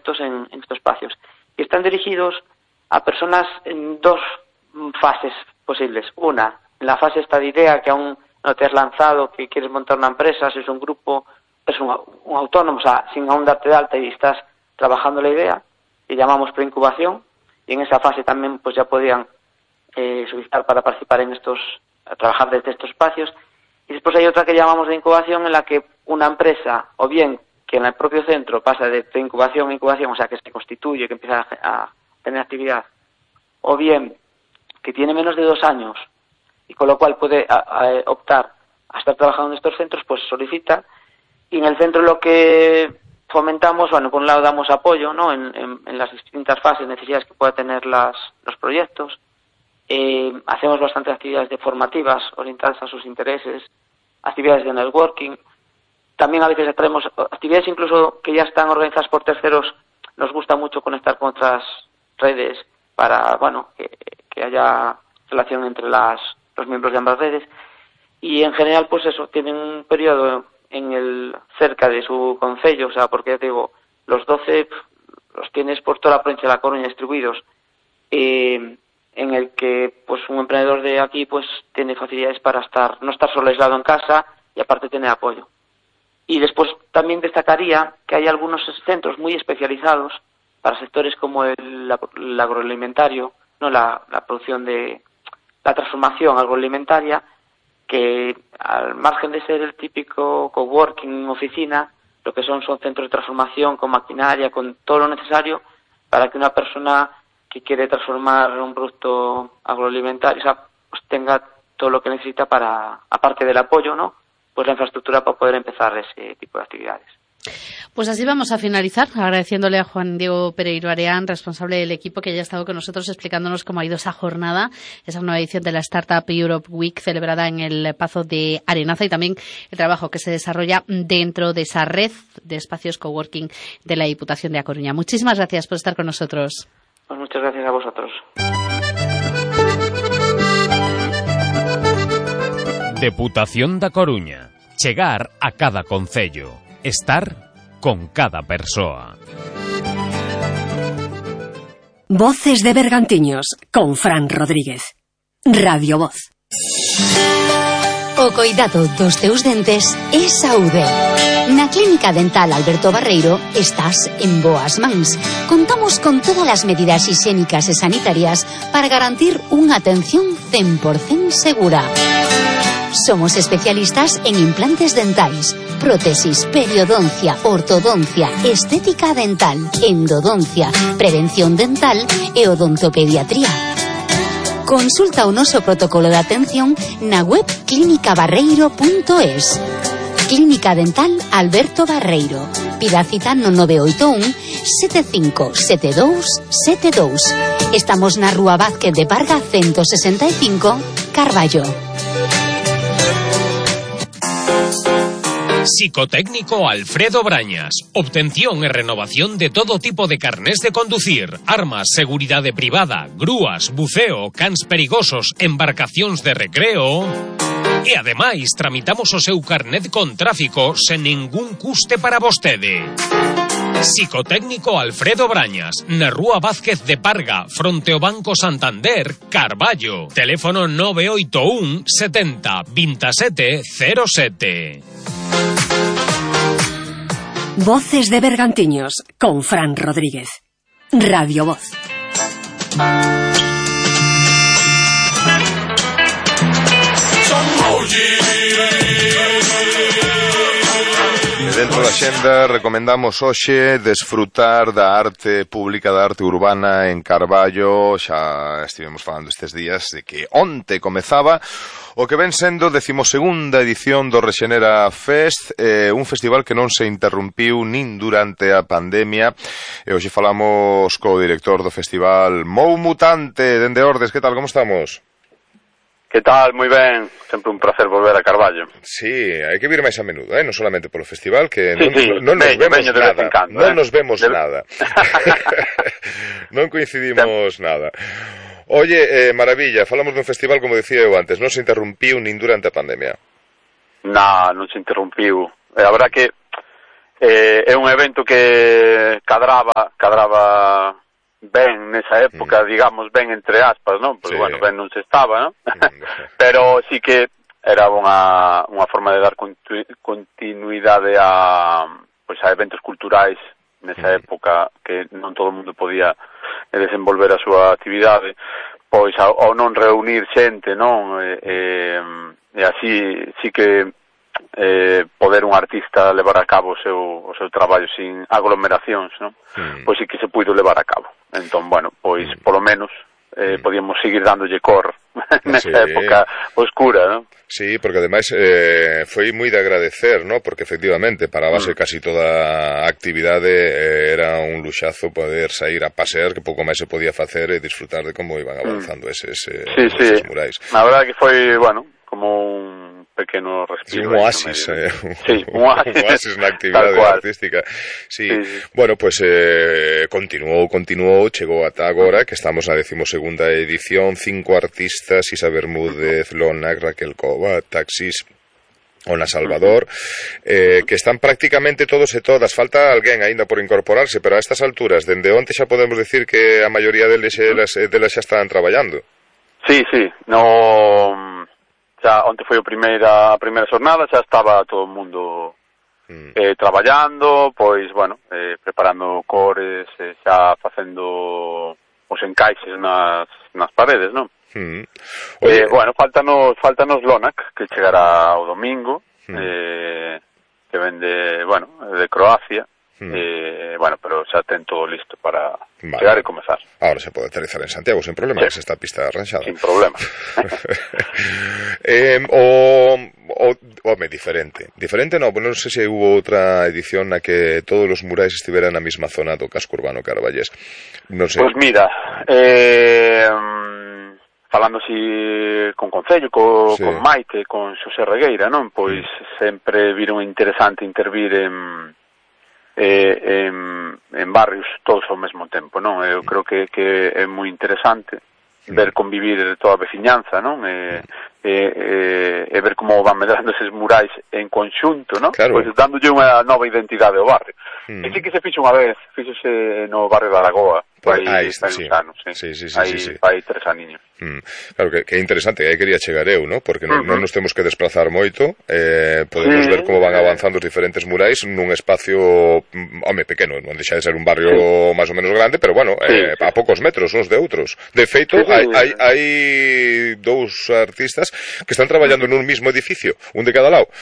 proyectos en estos espacios. Y están dirigidos a personas en dos fases posibles. Una, en la fase esta de idea, que aún no te has lanzado, que quieres montar una empresa, si es un grupo, es un autónomo, o sea, sin aún darte de alta y estás trabajando la idea, que llamamos preincubación, y en esa fase también pues ya podían solicitar para participar en trabajar desde estos espacios. Y después hay otra que llamamos de incubación, en la que una empresa, o bien que en el propio centro pasa de preincubación a incubación, o sea, que se constituye, que empieza a tener actividad, o bien que tiene menos de 2 años y con lo cual puede optar a estar trabajando en estos centros, pues solicita. Y en el centro lo que fomentamos, bueno, por un lado damos apoyo, ¿no?, en las distintas fases, necesidades que pueda tener los proyectos. Hacemos bastantes actividades formativas orientadas a sus intereses, actividades de networking. También a veces traemos actividades incluso que ya están organizadas por terceros. Nos gusta mucho conectar con otras redes para, bueno, que haya relación entre los miembros de ambas redes. Y en general, pues eso, tienen un periodo cerca de su concello, o sea, porque ya te digo, los 12 los tienes por toda la provincia de La Coruña distribuidos, en el que pues un emprendedor de aquí pues tiene facilidades para no estar solo aislado en casa y aparte tener apoyo. Y después también destacaría que hay algunos centros muy especializados para sectores como el agroalimentario, no la producción de la transformación agroalimentaria, que al margen de ser el típico coworking, oficina, lo que son centros de transformación con maquinaria, con todo lo necesario para que una persona que quiere transformar un producto agroalimentario, o sea, pues tenga todo lo que necesita para, aparte del apoyo, ¿no?, pues la infraestructura para poder empezar ese tipo de actividades. Pues así vamos a finalizar, agradeciéndole a Juan Diego Pereiro Areán, responsable del equipo, que haya estado con nosotros explicándonos cómo ha ido esa jornada, esa nueva edición de la Startup Europe Week celebrada en el Pazo de Arenaza, y también el trabajo que se desarrolla dentro de esa red de espacios coworking de la Diputación de A Coruña. Muchísimas gracias por estar con nosotros. Pues muchas gracias a vosotros. Deputación da Coruña. Chegar a cada concello. Estar con cada persoa. Voces de Bergantiños con Fran Rodríguez. Radio Voz. O coidado dos teus dentes é saúde. Na Clínica Dental Alberto Barreiro estás en boas mans. Contamos con todas as medidas higiénicas e sanitarias para garantir unha atención 100% segura. Somos especialistas en implantes dentais, prótesis, periodoncia, ortodoncia, estética dental, endodoncia, prevención dental e odontopediatría. Consulta o noso protocolo de atención na web clinicabarreiro.es. Clínica Dental Alberto Barreiro. Pida cita no 981 757272. Estamos na Rúa Vázquez de Parga 165, Carballo. Psicotécnico Alfredo Brañas. Obtención e renovación de todo tipo de carnés de conducir, armas, seguridade privada, grúas, buceo, cans perigosos, embarcacións de recreo. E ademais tramitamos o seu carnet con tráfico sen ningún custe para vostede. Psicotécnico Alfredo Brañas, na Rúa Vázquez de Parga, fronte ao Banco Santander, Carballo. Teléfono 981 70 27 07. Voces de Bergantiños con Fran Rodríguez. Radio Voz. Dentro da xenda recomendamos hoxe desfrutar da arte pública, da arte urbana en Carballo. Xa estivemos falando estes días de que onte comezaba o que ven sendo 12ª edición do Rexenera Fest, un festival que non se interrumpiu nin durante a pandemia. E hoxe falamos co director do festival, Mou Mutante, dende Ordes. Que tal, como estamos? Que tal? Moi ben, sempre un placer volver a Carballo. Sí, hai que vir máis a menudo, non solamente polo festival, que sí, non nos vemos nada, encando, non nos vemos nada. Non coincidimos nada. Oye, maravilla, falamos dun festival, como dicía eu antes, non se interrumpiu nin durante a pandemia. Non se interrumpiu. A verdad que É un evento que cadraba ben nesa época, digamos, ben entre aspas, non? Porque, bueno, ben non se estaba, non? Pero sí que era unha forma de dar continuidade a eventos culturais nesa época que non todo o mundo podía desenvolver a súa actividade, pois ao non reunir xente, non? E así sí que poder un artista levar a cabo o seu traballo sin aglomeracións, non? Pois sí que se puido levar a cabo. Entón, bueno, pois polo menos podíamos seguir dándolle cor nesa época oscura, non? Sí, porque ademais foi moi de agradecer, ¿no? Porque efectivamente para base casi toda a actividade era un luxazo poder sair a pasear, que pouco máis se podía facer e disfrutar de como iban avanzando esos murais. Na verdade que foi, bueno, como un pequeno respiro. Un oasis, un oasis na actividade artística. Sí. Bueno, pues continuou, chegou ata agora, que estamos na 12ª edición, 5 artistas, Isa Bermúdez, Lonac, Raquel Cova, Taxis, Ona Salvador, que están prácticamente todos e todas. Falta alguén aínda por incorporarse, pero a estas alturas, dende onte xa podemos decir que a maioría deles xa están traballando. Sí, xa onte foi a primeira xornada, xa estaba todo o mundo traballando, pois, bueno, preparando cores, xa facendo os encaixes nas paredes, non? Bueno, faltanos Lonac, que chegará o domingo, que vende, bueno, de Croacia, bueno, pero xa ten todo listo para chegar e comezar. Ahora se pode aterrizar en Santiago sin problema, que esta pista arranxada. Sin problema. Diferente non, non sei se hubo outra edición na que todos os murais estiveran na mesma zona do casco urbano carballés. Non sei. Pois mira, falando así con Concello, con Maite, con Xosé Regueira, non? Pois sempre viron interesante intervir en barrios todos ao mesmo tempo, non? Eu creo que é moi interesante ver convivir toda a veciñanza, non? E ver como van medrando eses murais en conxunto, non? Claro. Pois dándolle unha nova identidade ao barrio. E sí que se fixo unha vez, fíxose no barrio de Aragoa, fai uns anos, fai 3 aniños. Claro, que é interesante, aí quería chegar eu, ¿no? Porque non nos temos que desplazar moito, podemos ver como van avanzando os diferentes murais nun espacio, pequeno, non deixa de ser un barrio máis ou menos grande, pero bueno, a poucos metros uns de outros. De feito, hai 2 artistas que están traballando nun mismo edificio, un de cada lado.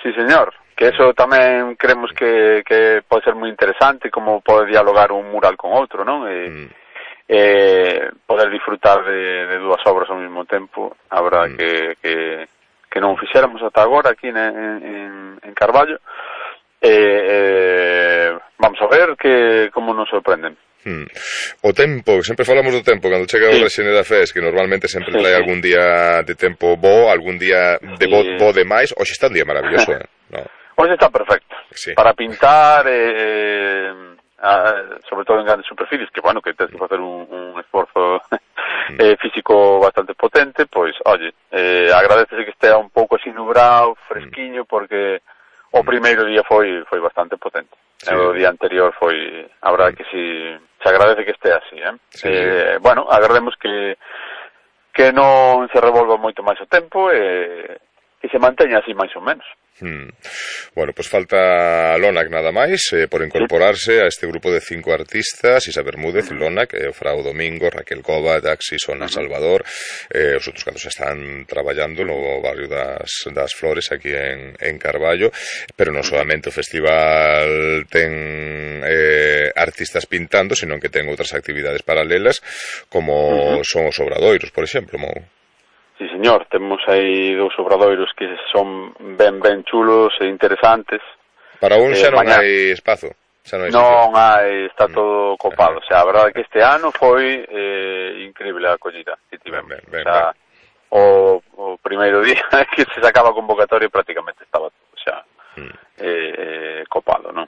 Sí, señor. Que eso tamén creemos que pode ser moi interesante, como pode dialogar un mural con outro, non? Poder disfrutar de 2 obras ao mesmo tempo, a verdade que non fixéramos ata agora aquí en Carballo. Vamos a ver como nos sorprenden. O tempo, sempre falamos do tempo cando chega o Rexene da Fes, que normalmente sempre trae algún día de tempo bo, algún día de bo de máis. Hoxe está un día maravilloso, ¿no? Hoxe está perfecto, para pintar, sobre todo en grandes superficies, que bueno, que tens que facer un esforzo físico bastante potente, pois, oye, agradecese que estea un pouco así nubrado, fresquiño, porque o primeiro día foi bastante potente. O día anterior foi, a verdade que si se agradece que este así, bueno, agrademos que non se revolva moito máis o tempo e se manteña así máis ou menos. Bueno, pues falta Lonac nada máis por incorporarse a este grupo de 5 artistas: Isa Bermúdez, Lonac, Frau Domingo, Raquel Cova, Taxis, Ona Salvador. Os outros cantos están traballando no barrio das Flores aquí en Carballo, pero non solamente o festival ten artistas pintando, sino que ten outras actividades paralelas como son os obradoiros, por exemplo, Sí, señor, temos aí 2 obradoiros que son ben chulos e interesantes. Para un xa non hai espazo. Non hai, está todo copado. O sea, a verdade que este ano foi increíble a acollida que tivemos. O primeiro día que se sacaba a convocatoria prácticamente estaba todo xa copado, non?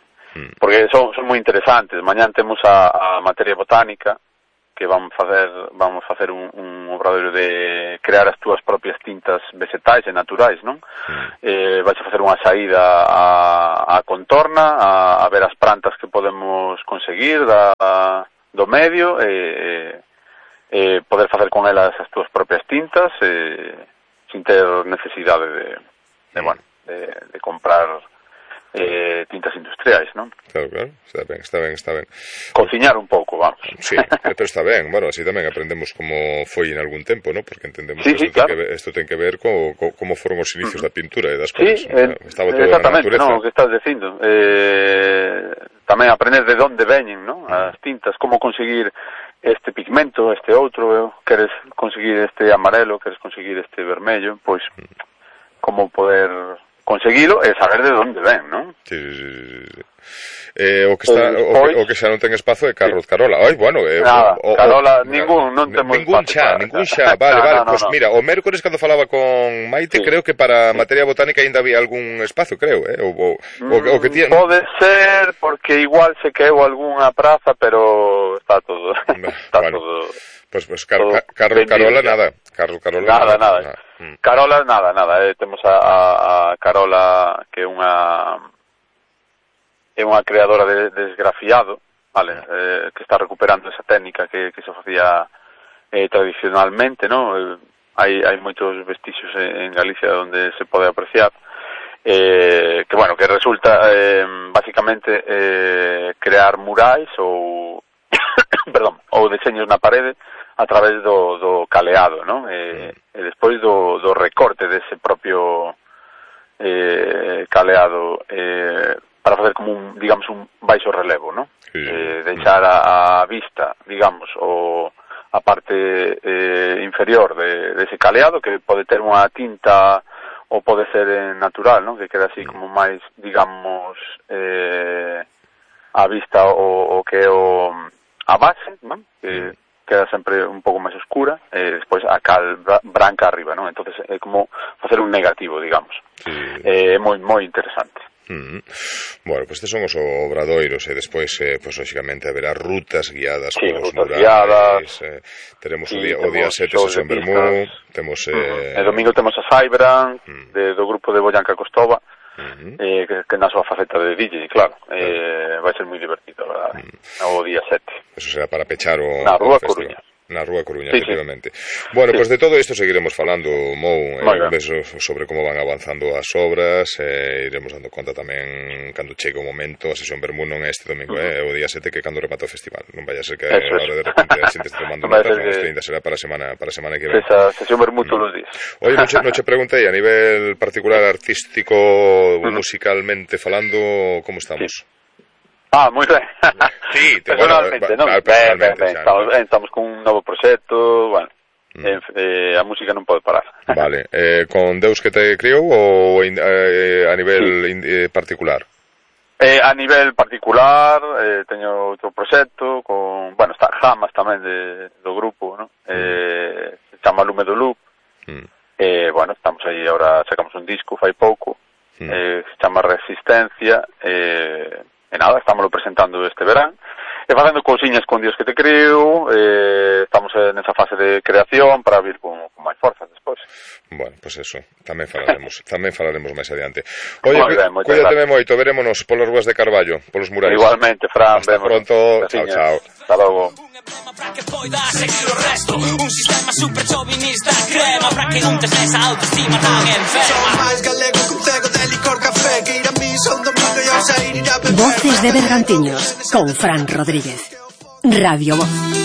Porque son moi interesantes. Mañán temos a materia botánica, que vamos facer un obradoiro de crear as túas propias tintas vegetais e naturais, non? Vais a facer unha saída a contorna, a ver as plantas que podemos conseguir do medio, poder facer con elas as túas propias tintas, sin ter necesidade de comprar tintas industriais, non? Claro, está ben. Cociñar un pouco, vamos. Sí, pero está ben, bueno, así tamén aprendemos como foi en algún tempo, non? Porque entendemos que isto ten que ver como foron os inicios da pintura e das cosas. Estaba todo na natureza. Non, o que estás dicindo. Tamén aprender de onde veñen, non? As tintas, como conseguir este pigmento, este outro, queres conseguir este amarelo, queres conseguir este vermello, pois como poder conseguilo e saber de onde ven, non? Sí. O que xa non ten espazo é Carlos Carola. Ai, bueno, Carola, non temos espazo. Ningún xa. Vale, pois mira, o mércores cando falaba con Maite, creo que para materia botánica ainda había algún espazo, creo, o que tiene. Pode ser, porque igual se quedou algunha praza, pero está todo todo. Pues Carlos Carola nada. Carlos Carola nada. Carola nada. Temos a Carola, que é unha creadora de esgrafiado, vale, que está recuperando esa técnica que se facía tradicionalmente, ¿no? Hai moitos vestixios en Galicia onde se pode apreciar, que resulta basicamente crear murais ou deseños na parede a través do caleado, ¿no? E despois do recorte dese propio caleado para facer como un baixo relevo, ¿no? Deixar a vista, digamos, a parte inferior dese caleado, que pode ter unha tinta ou pode ser natural, ¿no? Que queda así como máis, digamos, a vista o que é a base, ¿no? Que queda sempre un pouco máis oscura, e despois a cal branca arriba, non? Entonces é como facer un negativo, digamos. É moi interesante. Bueno, pues estes son os obradoiros e despois, pues lógicamente haberá rutas guiadas polos murais, teremos o día 7 sesión Bermú, temos e domingo temos a Saibran do grupo de Boyanca Costova, que na súa faceta de DJ, claro, vai ser moi divertido, verdad? O día 7. Eso será para pechar na Rúa Coruña. Na Rúa Coruña, efectivamente. Bueno, pues de todo isto seguiremos falando, Mou, sobre como van avanzando as obras, iremos dando conta tamén cando chegue o momento. A sesión Bermú non é este domingo, o día 7, que cando remata o festival. Non vaya a ser que ahora de repente a xente este tomando notas, isto ainda será para a semana que ven. Esa sesión Bermú todos os días. Oye, non che preguntei, a nivel particular, artístico, musicalmente falando, como estamos? Moi ben. Sí, personalmente, non? Ben, estamos con un novo proxecto, bueno, a música non pode parar. Vale, con Deus que te criou ou a nivel particular? A nivel particular, teño outro proxecto con, está Jamas tamén do grupo, non? Se chama Lume do Loop. Estamos aí, agora sacamos un disco fai pouco, se chama Resistencia, e nada, estámoslo presentando este verán e facendo cousiñas con Dios que te creo, estamos nesa fase de creación para vir con máis forzas despois. Bueno, pues eso, tamén falaremos máis adiante. Oye, cuídate moito, verémonos polas ruas de Carballo, polos murais. Igualmente, Fran, hasta pronto, chao. Hasta logo. Para que poida seguir o resto. Un sistema super chauvinista crema para que non tes esa autoestima tan enferma. Son máis galego que un cego de licor café, que ir a misa un domingo e ao sair ir a beber. Voces de Bergantiños con Fran Rodríguez. Radio Voz.